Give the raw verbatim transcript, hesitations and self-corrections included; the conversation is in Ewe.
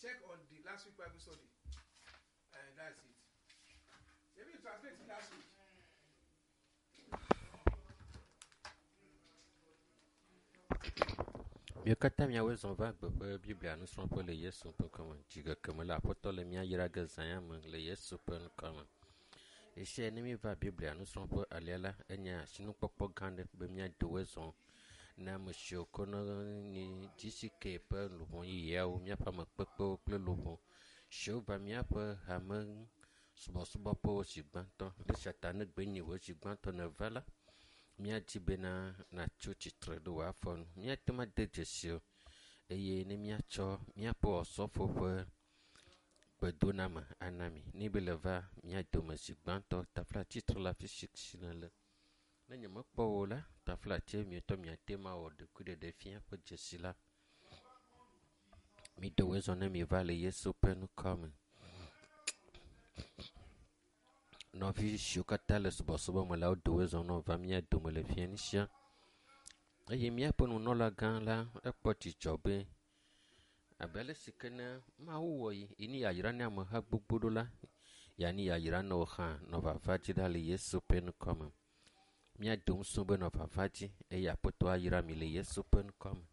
Check on the last week Bible study. And that's it. Maybe you translate it last week. Míawo katã míawoe zɔ va gbeƒe Biblia nusrɔ̃ƒe le Yesu ƒe ŋkɔme. Dzigeke me le Aƒetɔ le mía yra ge zã ya me le Yesu ƒe ŋkɔme. Esia ne míeva Biblia nusrɔ̃ƒe alea la, enye asinukpɔkpɔ gã aɖe be míado woe zɔ na ame siwo ke ne nyi GCK ƒe luʋɔ yeyeawo, míaƒe ame kpekpewo kple luʋɔ siwo va míaƒe hame subɔsubɔƒewo zi gbãtɔ. Le esia ta ne gbe nyi wò zi gbãtɔ nèva la, míadi bena natso tsitre ɖe wò afɔ nu. Míate ŋu ade dzesi o eye ne míatsɔ míaƒe osɔfo ƒe gbedoname ana mi. Ne be le va mía dome zi gbãtɔ, tafla tsitre le afi si si nèle. Ne nyemekpɔ wò o la, tafla tse mietɔ miate ŋu awɔ ɖokuiɖeɖe fia ƒe dzesi la. Miɖe woe zɔ ne miva le Yesu ƒe ŋkɔ me. Nɔvi siwo katã le subɔsubɔ me la, wodo woe zɔ ne wova mía dome le fiẽ sia. Eye míaƒe nunɔlagã la, ekpɔ dzidzɔ be abe ale si ke ne Mawu wɔ yi, yi ne yayra ne ameha gbogbo ɖo la, yanyi yayra ne wo hã nɔ vava dzi ɖa le Yesu ƒe ŋkɔ me. Míado ŋusẽ be nɔ vava dzi eye Aƒetɔ ayra mi le Yesu ƒe ŋkɔ me.